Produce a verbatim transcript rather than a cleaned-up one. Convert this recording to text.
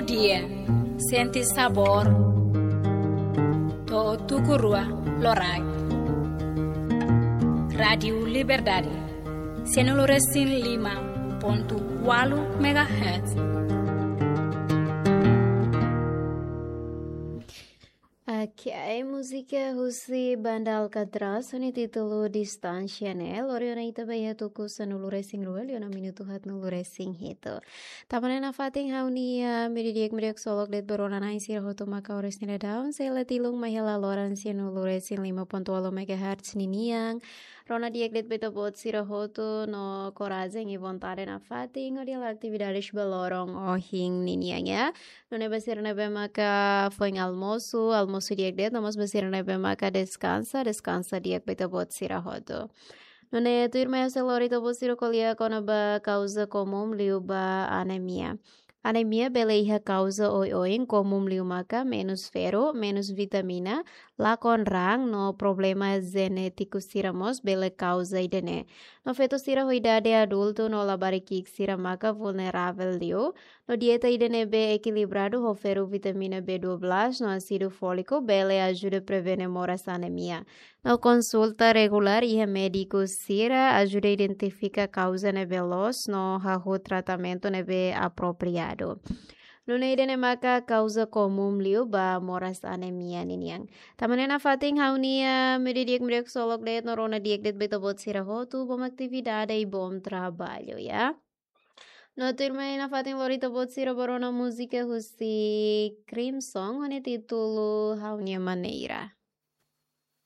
Dia, sente sabór, to'o tuku rua loraik. Rádiu Liberdade, sianulu resin lima pontu ualu megahertz. Ok, múzika husi Banda Alcatraz, ho nia títulu Distánsia ne'e, lori ona ita ba iha tuku sanulu resin rua, liu ona minutu haatnulu resin hitu. Tanba ne'e nafatin ha'u-nia meiudia di'ak, meiudia ksolok de'it ba rona-na'in sira hotu maka oras ne'e daudaun, sei la tilun mai hela loron sianulu resin lima pontu ualu megahertz ninian. Rona di'ak de'it ba ita-boot sira hotu no korajen i vontade nafatin hodi halo atividades ba loron ohin ninian, ya. Nune'e ba sira ne'ebé maka foin almosu, almosu di'ak de'it, no mós ba sira ne'ebé maka deskansa, deskansa di'ak ba ita-boot sira hotu. Nune'e tuirmai ha'u sei lori ita-boot sira ko'alia kona-ba kauza komún liu ba anemia. Anemia bele iha kauza oioin, komún liu maka menus ferru, menus vitamina, lakon raan no problema jenétiku sira mós bele kauza ida-ne'e. No feto sira ho idade adultu no labarik ki'ik sira maka vulneravel liu. No dieta ida ne'ebé ekilibradu ho ferru, vitamina B dua belas no ásidu fóliku bele ajuda prevene moras anemia. No konsulta regulár iha médiku sira ajuda identifika kauza ne'ebé loos no hahú tratamentu ne'ebé apropriadu. Nune'e ida-ne'e maka kauza komún liu ba moras anemia ninian. Tanba ne'e nafatin ha'u-nia meiudia di'ak, meiudia ksolok de'it no rona di'ak de'it ba ita-boot sira hotu, bom atividade i bom traballu, ya. No tuirmai nafatin lori ita-boot sira ba rona múzika husi Crimson, ho nia títulu Ha'u-nia Maneira.